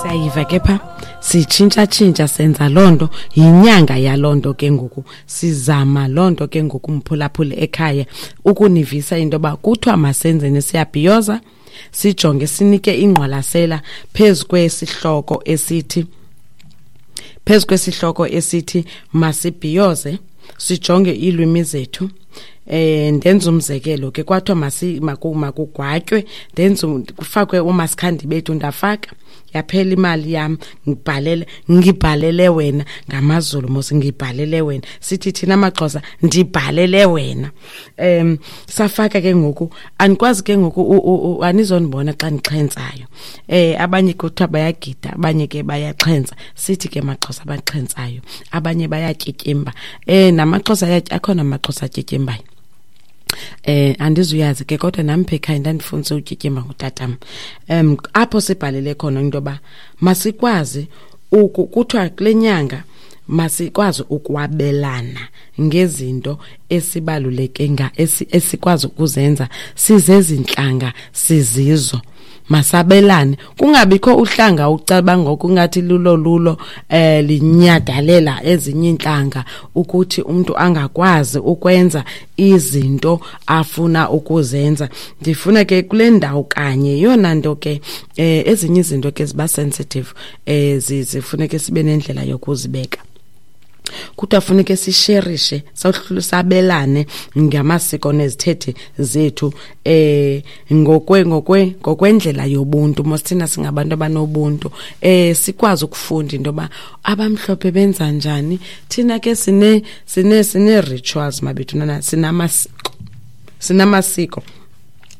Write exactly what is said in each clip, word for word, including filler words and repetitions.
Siyayiva ke pha, sitshintsha-tshintsha, senza loo nto. Yinyanga yaloo nto ke ngoku, sizama loo nto ke ngoku, mphulaphuli ekhaya, ukunivisa into yoba kuthiwa masenzeni. Siyabhiyoza, sijonge, sinike ingqwalasela phezu kwesihloko esithi phezu kwesihloko esithi masibhiyoze, sijonge iilwimi zethu. eh ndenza umzekelo ke, kwathiwa masi makugwatywe, ndenza kufakwe uMasikhandi bethu. Ndafaka, yaphela imali yam. Ngibhalele ngibhalele wena ngamaZulu mos, ngibhalele wena. Sithi thina amaXhosa, ndibhalele wena. em safaka ke ngoku, andikwazi ke ngoku, anizonibona xa ndixhentsayo. eh abanye kuthiwa bayagida, abanye ke bayaxhentsa. Sithi ke maXhosa abaxhentsayo, abanye bayatyityimba. eh namaXhosa akhona, amaXhosa atyityimbayo. eh andizuyazi ke, kodwa nami pha ekhaya ndandifundise utyityimba ngutatam. um apho sibhalele khona into yoba masikwazi, kuthiwa kule nyanga masikwazi ukwabelana ngezinto esibaluleke nga esikwazi ukuzenza sizezintlanga sizizo. Masabelane, kungabikho uhlanga ucabanga ngokungathi lulo lulo eh linyadalela ezinye intlanga, ukuthi umuntu angakwazi ukwenza izinto afuna ukuzenza. Ndifuna ke kule ndawo kanye yona nto ke, eh ezinye izinto ke ziba sensitive, eh zifuneke sibe nendlela yokuzibeka. Kuthiwa funeke sisherishe, sabelane ngamasiko nezithethe zethu eh ngokwe ngokwe ngokwendlela yobuntu mos. Thina singabantu abanobuntu, eh sikwazi ukufunda into yoba abamhlophe benza njani. Thina ke sine sine sine rituals mabethuna, sinamasiko sinamasiko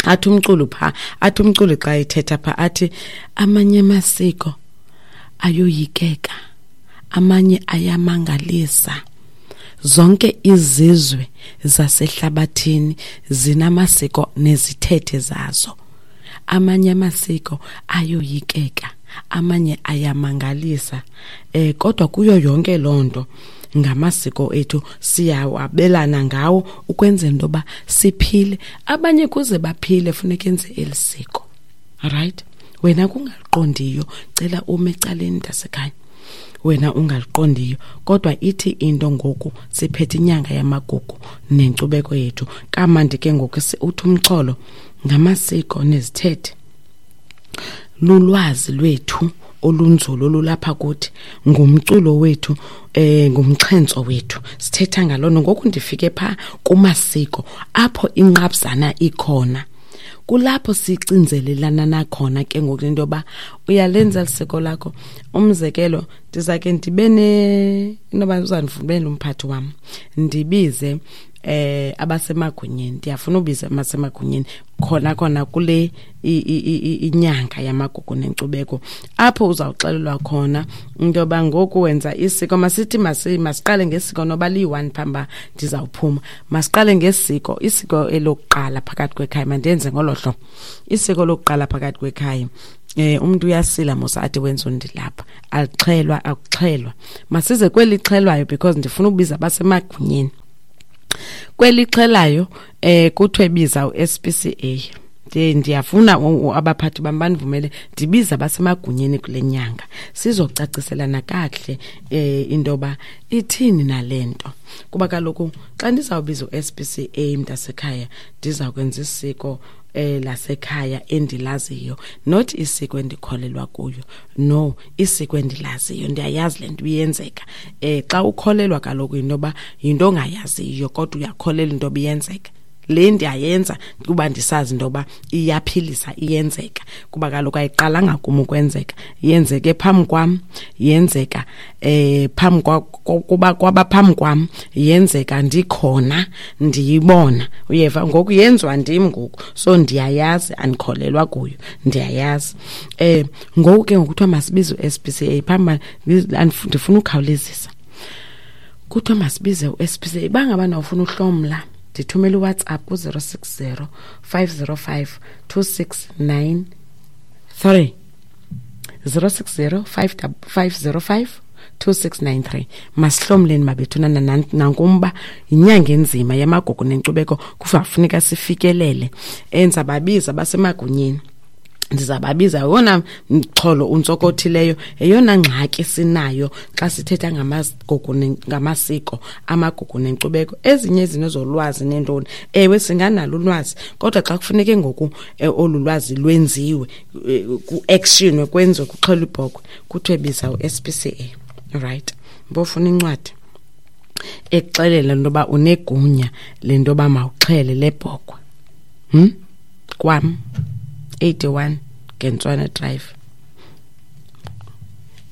Athi umculo pha, athi umculo xa ethetha pha, athi amanye amasiko ayoyikeka, amanye ayamangalisa. Zonke izizwe zasehlabathini zinamasiko nezithethe zazo. Amanye amasiko ayoyikeka, amanye ayamangalisa, eh kodwa kuyo yonke lonto ngamasiko ethu, siyawabelana ngawo ukwenzela into yoba siphile. Abanye kuze baphile funeka enze eli siko. Right, wena kungaliqondiyo, cela ume ecaleni, mntasekhaya, wena ungaliqondiyo. Kodwa ithi into ngoku siphethe inyanga yamagugu nenkcubeko yethu kamandi ke ngoku. Uthi umxholo ngamasiko nezithethe, lulwazi lwethu olunzulu olulapha kuthi, ngumculo wethu, eh ngumxhentso wethu. Sithetha ngalona ngoku. Ndifike pha kumasiko apho inqabzana ikhona, kulapho sicinzelelana nakhona ke ngoku into yoba uyalenza lisiko lakho. Umzekelo, ndizake ndibe ne inoba uzandivumela umphathi wam, ndibize eh abasemagunyeni. Ndiyafuna ubiza abasemagunyeni khona khona kule inyanga yamagugu nenkcubeko, apho uzawuxelelwa khona into yoba ngoku wenza isiko. Masithi masiqale ngesiko noba liyi-one phamba ndizawuphuma. Masiqale ngesiko, isiko elokuqala phakathi kwekhaya. Mandenze ngolo hlobo, isiko lokuqala phakathi kwekhaya. eh umuntu uyasila mos, athi wenza undilapha, alixhelwa, akuxhelwa. Masize kweli xhelwayo because ndifuna ukubiza abasemagunyeni. Kwelixhelayo eh kuthiwe biza u-S P C A. Ndiyafuna abaphathi bam bandivumele ndibize abasemagunyeni kule nyanga, sizocaciselana kakuhle eh into yoba ithini nale nto. Kuba kaloku xa ndizawubiza u-S P C A, mntasekhaya, ndiza kwenza isiko eh lasekhaya endilaziyo, not isiko endikholelwa kuyo. No, isiko endilaziyo, ndiyayazi le nto iyenzeka. eh xa ukholelwa kaloku yinto yoba yinto ongayaziyo, kodwa uyakholelwa into yoba iyenzeka. Le ndiyayenza kuba ndisazi into yoba iyaphilisa, iyenzeka, kuba kaloku ayiqalanga kum ukwenzeka, yenzeke phambi kwam, yenzeka eh phambi kuba kwaba phambi kwam, yenzeka ndikhona, ndiyibona. Uyeva, ngoku yenziwa ndim ngoku, so ndiyayazi, andikholelwa kuyo, ndiyayazi. eh ngoku ke ngokuthiwa masibize u-S P C A phambi, ndifuna ukhawulezisa. Kuthiwa masibize u-S P C A. Bangabana ufuna uhlomla, ndithumela uWhatsApp ku-zero six zero five zero five two six nine three, zero six zero five zero five two six nine three. Masihlomleni mabethuna, nankumba yinyanga enzima yamagugu nenkcubeko, kufuneka sifikelele. Enza babiza basemagunyeni. Ndizababiza wona mxholo untsokothileyo, eyona ngxaki sinayo xa sithetha ngamagugu ngamasiko, amagugu nenkcubeko. Ezinye izinto zolwazi nentoni, ewe singanalo ulwazi, kodwa xa kufuneke ngoku olu lwazi lwenziwe, ku-actionwe, kwenziwe, kuxhelwe ibhokhwe, kuthiwe biza u-S P C A. Right, mbofuna incwadi ekuxelela into yoba unegunya le nto yoba mawuxhele le bhokhwe. Hm? Kwam eighty-one Gentswana Drive.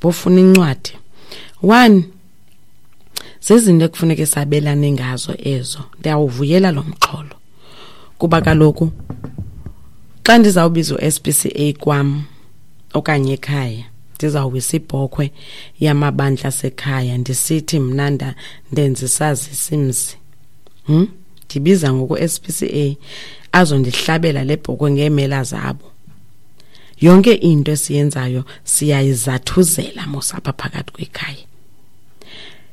Bofuna incwadi. One, zezinto ekufuneke sabelane ngazo ezo. Ndiyawuvuyela lo mxholo. Kuba kaloku xa ndizawubiza u-S P C A kwam okanye ekhaya, ndizawuwisa ibhokhwe yamabandla asekhaya ndisithi mna ndenza isazisi mzi. Hm? Ndibiza ngoku S P C A azondihlabela le bhokhwe ngeemela zabo. Yonke into esiyenzayo siyayizathuzela mos apha phakathi kwekhaya.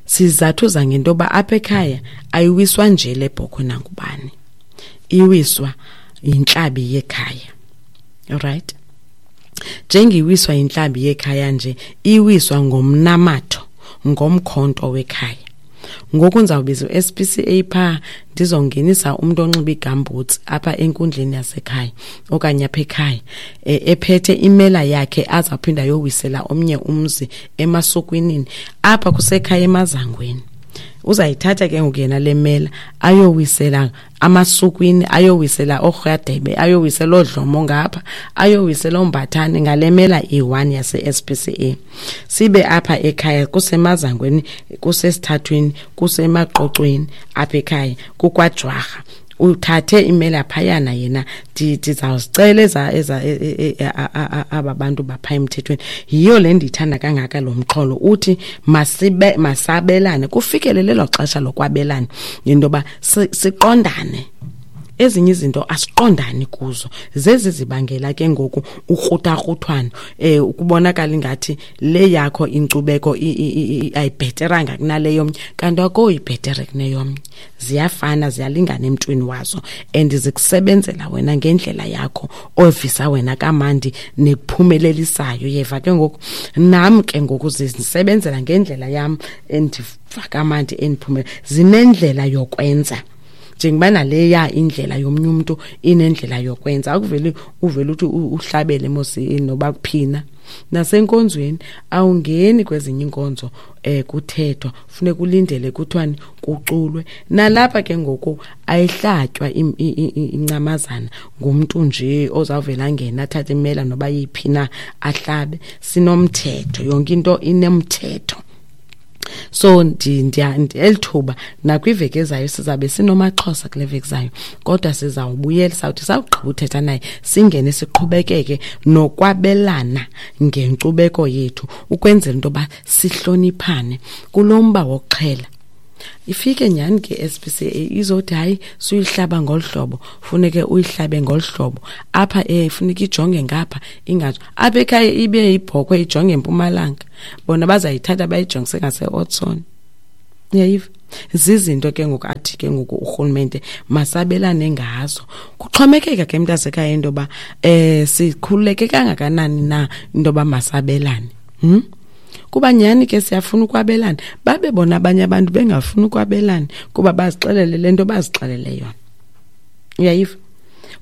Sizathuza ngento yoba apha ekhaya ayiwiswa nje le bhokhwe nangubani, iwiswa yintlabi yekhaya. Alright, njengiwiswa yintlabi yekhaya nje, iwiswa ngomnamatho, ngomkhonto wekhaya. Ngoku ndizawubiza u-S P C A phaa, ndizongenisa umntu onxiba igambutsi apha enkundleni yasekhaya okanye apha ekhaya, ephethe imela yakhe azawuphinda ayowisela omnye umzi emasukwinini apha kusekhaya emazangweni. Uzayithatha ke ngoku yena le mela ayowisela amasukwini, ayowisela oorhadebe, ayowisela oodlomo ngapha, ayowisela oombathane ngale mela iyi-one yase-S P C A. Sibe apha ekhaya kusemazangweni, kusesithathweni, kusemaqoqweni apha ekhaya kukwajwarha. Uthathe imela phayana yena, ndizawuzicela eza eza aba bantu bapha emthethweni. Yiyo le ndiyithanda kangaka lo mxholo uthi masibe masabelane, kufikelele elo xesha lokwabelana into yoba siqondane. Ezinye izinto asiqondani kuzo, zezi zibangela ke ngoku ukrutakrutwano, eh ukubonakala ingathi le yakho inkcubeko ayibheteranga kunale yomnye, kanti akoyibhetere kuneyomnye. Ziyafana, ziyalingana emntwini wazo and zikusebenzela wena ngendlela yakho ovisa wena kamandi nekuphumelelisayo. Yeva ke ngoku, nam ke ngoku zisebenzela ngendlela yam endiva kamandi endiphumele. Zinendlela yokwenza, njengoba naleya indlela yomnye umuntu inendlela yokwenza. Akuveli uvele uthi uhlabele mos noba kuphina. Nasenkonzweni awungeni kwezinye inkonzo eh kuthethwa, funeka ulindele kuthwani kuculwe. Nalapha ke ngoku ayihlatywa incamazana ngumuntu nje ozawuvela ngena athathe imela noba yiphi na ahlabe. Sinomthetho, yonke into inemthetho. So ndiya elithuba nakwiveki ezayo sizabe sinomaXhosa kule veki zayo, kodwa sizawubuyela sawuthi sawugqiba uthetha naye singene siqhubekeke nokwabelana ngenkcubeko yethu ukwenzela into yoba sihloniphane kulo mba wokuxhela. Ifike nyhani ke S P C A izothi hayi suyihlaba ngolu hlobo, funeke uyihlabe ngolu hlobo apha, eh funeka ijonge ngapha, ingazo apha ekhaya ibe ibhokhwe ijonge empumalanga, bona bazayithatha bayijongise ngase-Otson. Uyayiva? Zizinto ke ngoku athi ke ngoku urhulumente masabelane ngazo. Kuxhomekeka ke mntasekhaya into yoba eh sikhululeke kangakanani na into yoba masabelane. Hmm? Kuba nyhani ke siyafuna ukwabelana, babe bona abanye abantu bengafuni ukwabelana kuba bazixelele le nto bazixelele yona. Uyayiva?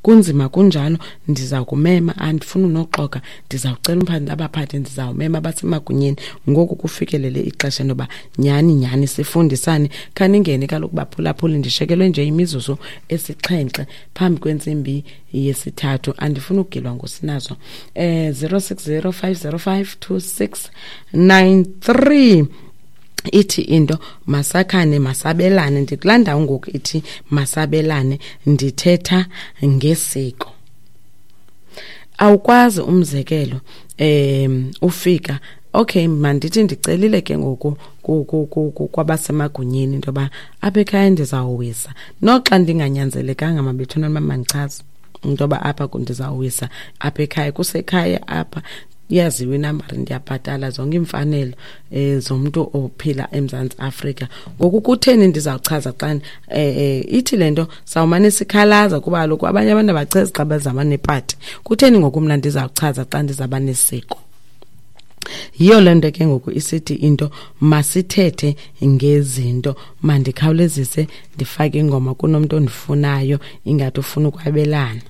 Kunzima kunjalo, ndiza kumema, andifuni unoxoka, ndizawucela umphathi abaphathi, ndizawumema abasemagunyeni ngoku kufikelele ixesha noba nyhani nyhani sifundisane. Khaningene kaloku baphulaphuli, ndishekelwe nje imizuzu esixhenxe phambi kwentsimbi yesithathu, andifuni ukugilwa ngosinazo. Eh zero six zero five zero five two six nine three ithi into masakhane masabelane. Ndikulaa ndawo ngoku ithi masabelane, ndithetha ngesiko. Awukwazi umzekelo em ufika okay mandithi ndicelile ke ngoku kwabasemagunyeni into yoba apha ekhaya ndizawuwisa, noxa ndinganyanzelekanga mabethuna uba mandichaze into yoba apha ndizawuwisa apha ekhaya, kusekhaya apha. Iyaziwa inambari, ndiyabhatala zonke iimfanelo um zomntu ophila eMzantsi Afrika. Ngoku kutheni ndizawuchaza xa um ithi le nto sawumane sikhalaza, kuba kaloku abanye abantu abachezi xa bezama nepati. Kutheni ngoku mna ndizawuchaza xa ndizawuba nesiko? Yiyo le nto ke ngoku isithi into masithethe ngezinto. Mandikhawulezise ndifake ingoma, kunomntu ondifunayo, ingathi ufuna ukwabelana.